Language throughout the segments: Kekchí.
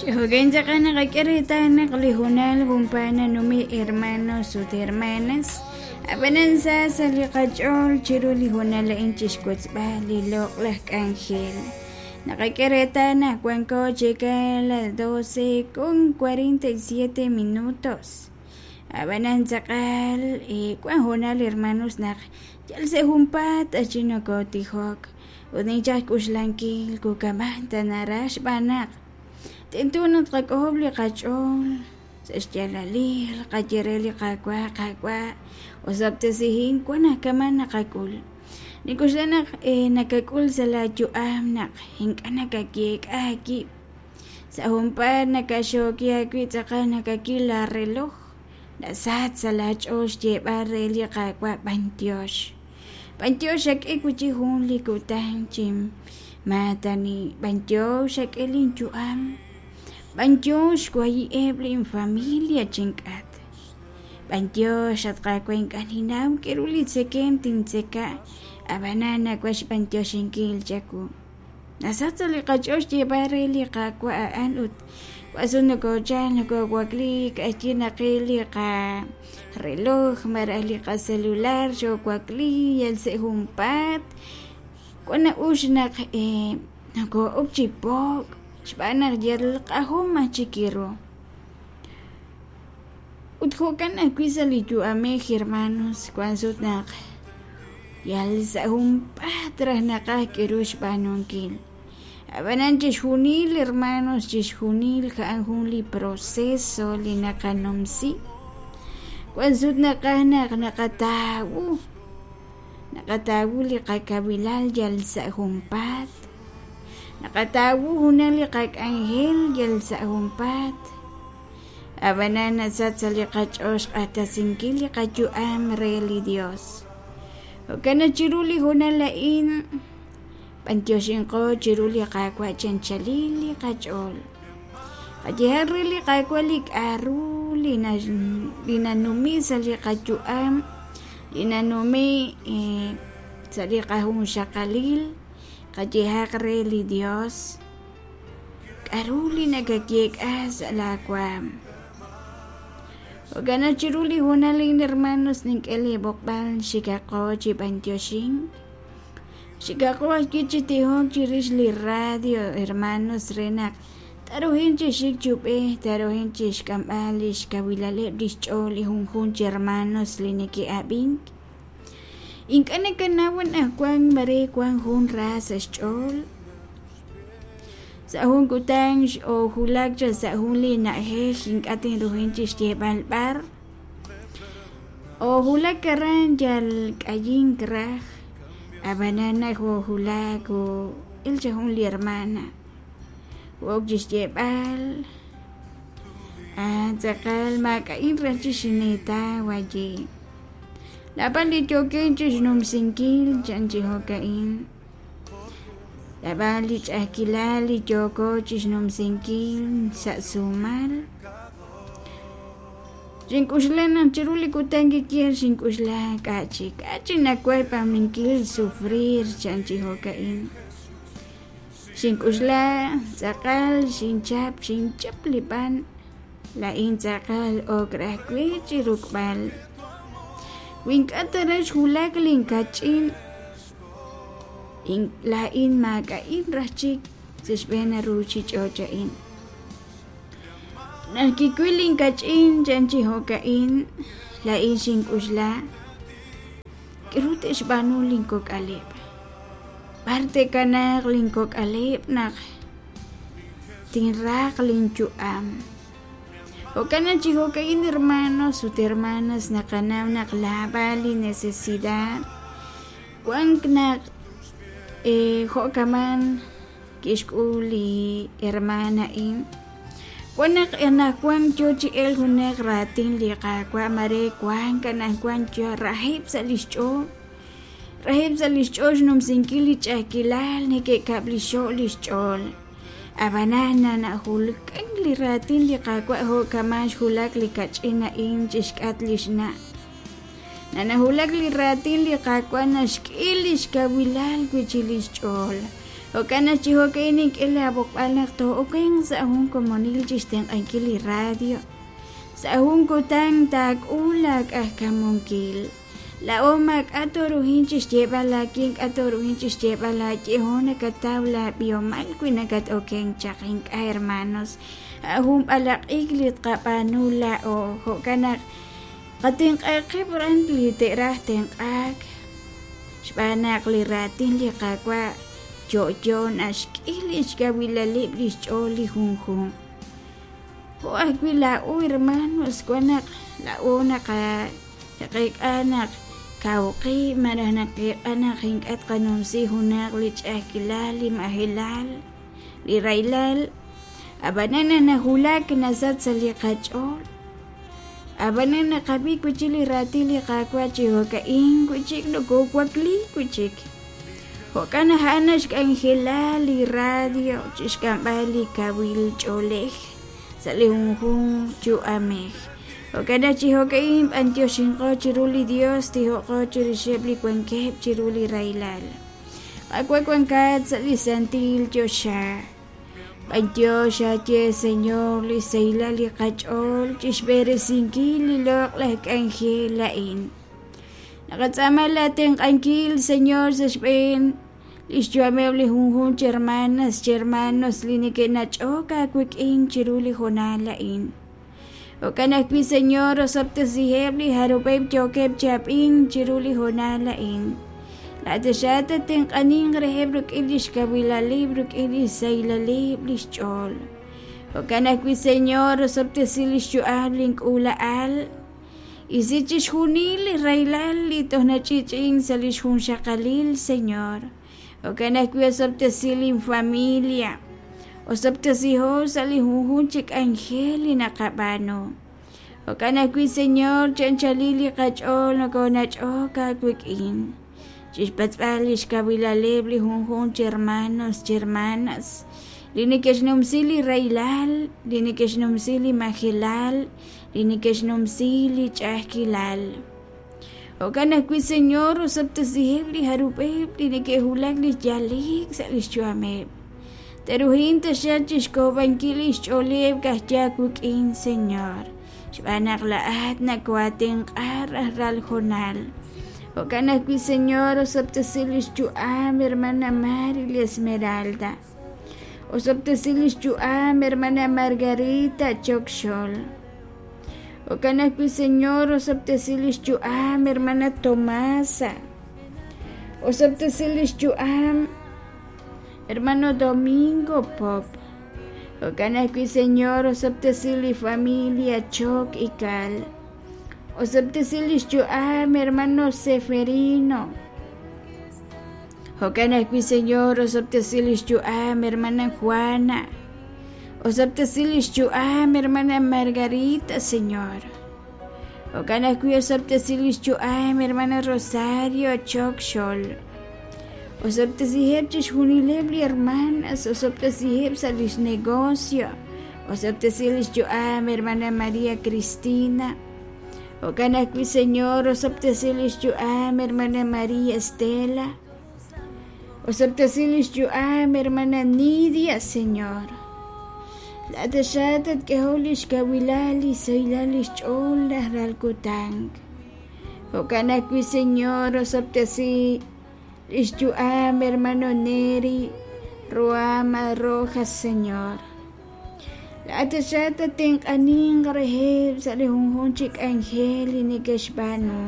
Jo'kan tz'aqal naqak'e reetal naq li hoonal junpaat nanumi hermanos ut hermanas. Ab'anan sa sa' li qach'ool chiru li hoonal a'in chixwotzb'al li loq'laj k'anjel. Naqak'e reetal naq wanko chik a las 12 con 47 minutos. Ab'anan tz'aqal wan hoonal hermanos naq yal sa' junpaat achi nokotijok ut ninchaj xk'uxlankil kukamaj ta naraj xb'aan naq tento naq tqak'ojob' li qach'ool sa' xyaalalil qaye re li Qaawa', Qaawa', osob'tesihin wan naq kama' naqak'ul. Nink'oxla naq nakak'ul sa' laa yu'am naq ink'a' nakayeek'a aawib'. Sa' junpaat nakaxooki aawib' tz'aqal nakakil laa reloj, nasach sa' laa ch'ool xyeeb'al re li Qaawa' b'antiox. B'antiox xak'e wi'chik jun li kutan chi maatani, b'antiox xak'e lin yu'am, b'antiox xwahi'eb' lin familia chink'at, b'antiox at Qaawa' ink'a' ninnaw k'a'ru li tzekemq tintzeka, ab'anan nawaj xb'antioxinkil chawu. Nasach sa' li qach'ool xyeeb'al re li Qaawa' a'an ut wan sut nokochal nokowakliik k'a'chi naqil li qareloj malaj li qacelular xoowakli yal sa' junpaat wan na'ux naq noko'ok chi po'k xb'aan naq yal q'ajom aj chik ru. Ut jo'kan ajwi' sa' li yu'amej hermanos wan sut naq yal sa' junpaat raj naqaj k'aru xb'aanunkil. Ab'anan chixjunil hermanos chixjunil a'an jun li proceso li naqanumsi. Wan sut naqaj naq naqatawu naqatawu li qakawilal yal sa' junpaat, naqatawu junaq li qak'anjel yal sa' junpaat. Ab'anan nasach sa' li qach'ool xq'axtesinkil li qayu'am re li Dios. Jo'kan naq chiru li hoonal a'in b'antioxinqo chiru li Qaawa' chi anchalil li qach'ool. Qayehaq re li Qaawa' li k'a'ru li nanumi sa' li qayu'am, li nanumi sa' li qajunxaqalil, qayehaq re li Dios. K'a'ru li nakayeek'a sa' laa waam? Jo'kan naq chiru li hoonal a'in, hermanos, nink'e lee b'oqb'al xikaqo chi b'antioxink. Xikaqo ajwi' chi tijok chirix li radio, hermanos, re naq taruhin chi xik chi ub'ej, taruhin chixk'amb'al lix kawilaleb' lix ch'ool li junjunq chi hermanos li neke'ab'ink. Ink'a' nakanaw anajwan mare wan jun ra sa' xch'ool. Sa' jun kutan x'oowulak chaq sa' jun li na'ajej ink'a' tinruhin chi xyeeb'al b'ar. Oowulak aran yal k'ayink raj, ab'anan naq oowulak oo'el chaq jun li hermana wo'ok chi xyeeb'al ah tz'aqal maak'a'in raj chi xineetaw ayi', naab'al li yookin chi xnumsinkil chan chi jo'ka'in. Naab'al li ch'a'ajkilal li yooko chixnumsinkil sa' sumal. Xink'oxla naq chiru li kutan kikiel xink'oxla k'a' chik, k'a' chik nawaj b'aanunkil sufrir chan chi jo'ka'in. Xink'oxla tz'aqal xinchap xinchap li b'an, laa'in tz'aqal ok raj we chi ruk'b'al. Wi ink'a' ta raj xwulak linkach'in Laa'in maak'a'in raj chik sa' xb'een a ruuchich'och' a'in. Naq kiwil linkach'in chan chi jo'ka'in, laa'in xink'oxla, K'aru te'xb'aanu linkok'aleb'? B'ar te'kanaaq linkok'aleb' naq tinraq linyu'am? Jo'kan naq chi jo'ka'in hermanos ut hermanas naqanaw naq laab'al li necesidad wank naq jo'kaman kixk'ul li hermaan a'in. Wan naq anajwan yoo chi elk junaq raatin li Qaawa' mare wank anajwan yo raheb' sa' lix ch'ool, raheb' sa' lix ch'ool xnumsinkil li ch'a'ajkilal neke'kab'lixo' lix ch'ool. Ab'anan nanajulkank li raatin li Qaawa' jo' kama' xwulak li kach'in a'in chi xk'atq li xna'. Nanajulak li raatin li Qaawa' naxk'e li xkawilal wi' chi li xch'ool. Jo'kan naq chi jo'ka'in nink'e laab'oqb'al naq too'okenq sa' jun komonil chi xtenq'ankil li radio. Sa' jun kutan taak'ul laak'ajkamunkil. Laa'o maak'a' tooruhin chi xyeeb'al laakin k'a' tooruhin chi xyeeb'al laayehom nakataw laab'ihomal wi nakat-okenk chaq ink'a' hermanos. A' jun b'alaq'ik li tqab'aanu laa'o. Jo'kan naq qatenq'aq qib' ran li te'raj tenq'aak xb'aan naq li raatin li Qaawa' yo'yo naxk'e li xkawilaleb' li xch'ool li junjunq. Jo' ajwi' laa'o hermanos wan naq laa'o naqeek'a naq kaw qib' malaj naqeek'a naq ink'a' tqanumsi junaq li ch'a'ajkilal, li majelal, li rahilal. Ab'anan naq nawulak nasach sa' li qach'ool. Ab'anan naqab'i wi' chik li raatin li Qaawa' chi jo'ka'in wi' chik nokoowakliik wi' chik. Jo'kan naq a'an naxk'anjela li radio chi xk'amb'al li kawil ch'oolej sa' li junjunq yu'amej. Jo'kan naq chi jo'ka'in b'anyoxinqo chiru li Dios tijoqo chirixeb' li wankeb' chiru li rahilal. Qaawa' wankat sa' li santil choxa. B'anyox aaye Señor li xsahilal li qach'ool chi xb'eresinkil li loq'laj k'anjel a'in. Naqatz'aama laatenq'ankil Señor sa' xb'een li xyu'ameb' li junjunq chi hermanas chi hermanos li neke'nach'ok aawik'in chiru li hoonal a'in. Jo'kan ajwi' Señor osob'tesiheb' li jarub'eb' yookeb' chi ab'ink chiru li hoonal a'in. Laa'at tatenq'aninq reheb' rik'in li xkawilaleb' rik'in li xsahilaleb' li xch'ool. Jo'kan ajwi' Señor osob'tesi li xyu'am link'uula'al. Isi chixjunil li rahilal li toj nach'i'ch'i'ink sa' li xjunxaqalil, Señor. Jo'kan ajwi' osob'tesi linfamilia. Osob'tesiho sa' li junjunq chi k'anjel li naqab'aanu. Jo'kan ajwi' Señor, chi anchalil li qach'ool nokoonach'ok aawik'in. Chixpatz'b'al li xkawilaleb' li junjunq chi hermanos chi hermanas li neke'xnumsi li rahilal, li neke'xnumsi li majelal, li neke'xnumsi li ch'a'ajkilal. Jo'kan ajwi' Señor, osob'tesiheb' li jarub'eb' li neke'wulak li yale'k sa' li xyu'ameb'. Te'ruhin taxaq chixk'ojob'ankil lix ch'ooleb' ka'ajwi' aawik'in, Señor, xb'aan naq laa'at nakoo'atenq'a rajlal hoonal. Jo'kan ajwi' Señor, osob'tesi lix yu'am hermana Mary li Esmeralda. Osob'tesi lix yu'am hermana Margarita Choc Xol. Jo'kan ajwi' Señor, osob'tesi lix yu'am hermana Tomasa. Osob'tesi lix yu'am hermano Domingo Pop. Jo'kan ajwi' Señor, osob'tesi li familia Choc Ical. Osob'tesi lix yu'am hermano Seferino. Jo'kan ajwi' Señor, osob'tesi lix yu'am hermana Juana. Osob'tesi lix yu'am hermana Margarita, Señor. Jo'kan ajwi' osob'tesi lix yu'am hermana Rosario Choc Xol. Osob'tesiheb' chixjunileb' li hermanas, osob'tesiheb' sa' lix negocio. Osob'tesi lix yu'am hermana María Cristina. Jo'kan ajwi' Señor, osob'tesi lix yu'am hermana María Estela. Osob'tesi lix yu'am hermana Nidia, Señor. Laa'at taxaq tatk'ehoq lix kawilal li xsahilal lix ch'ool rajlal kutan. Jo'kan ajwi' Señor, osob'tesi lix yu'am hermano Neri Ruama Rojas, Señor. Laa'at taxaq tatenq'aninq reheb' sa' li junjunq chi k'anjel li neke'xb'aanu.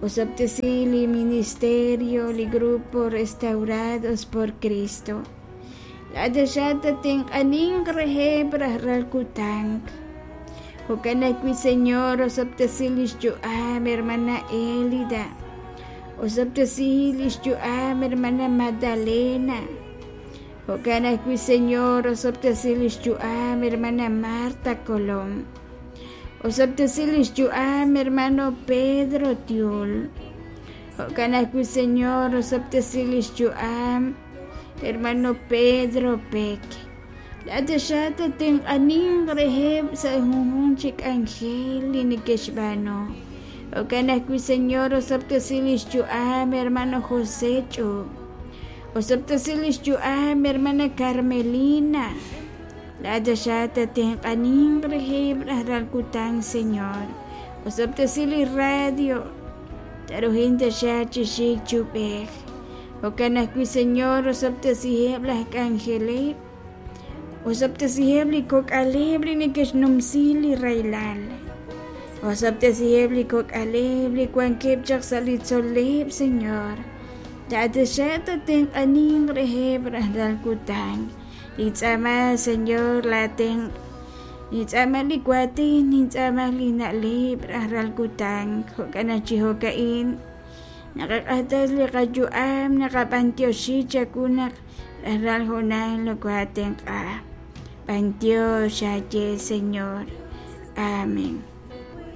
Osob'tesi li ministerio, li Grupo Restaurados por Cristo. Laa'at taxaq tatenq'aninq reheb' rajlal kutan. Jo'kan ajwi' Señor, osob'tesi lix yu'am hermana Elida. Osob'tesi lix yu'am hermana Magdalena. Jo'kan ajwi' Señor, osob'tesi lix yu'am hermana Marta Colom. Osob'tesi lix yu'am hermano Pedro Tiul. Jo'kan ajwi' Señor, osob'tesi lix yu'am hermano Pedro Peck. Laa'at taxaq tatenq'aninq reheb' sa' junjunq chi k'anjel li neke'xb'aanu. Jo'kan ajwi' Señor, osob'tesi lix yu'am hermano José Ch'ub. Osob'tesi lix yu'am hermana Carmelina. Laa'at taxaq tatenq'aninq reheb' rajlal kutan, Señor. Osob'tesi li radio. Taruhin taxaq chi xik chi ub'ej. Jo'kan ajwi', Señor, osob'tesiheb' laj k'anjeleb'. Osob'tesiheb' li kok'aleb' li neke'xnumsi li rahilal. Osob'tesiheb' li kok'aleb' li wankeb' chaq sa' li tzol'leb', Señor. Laa'at taxaq tatenq'aninq reheb' rajlal kutan. Nintz'aama, Señor, laa tenq'. Nintz'aama li waatin, nintz'aama li na'leb' rajlal kutan. Jo'kan naq chi jo'ka'in naqaq'axtes li qayu'am, naqab'antioxi chawu naq rajlal hoonal nokohaatenq'a. B'antiox aaye, Señor. Amén.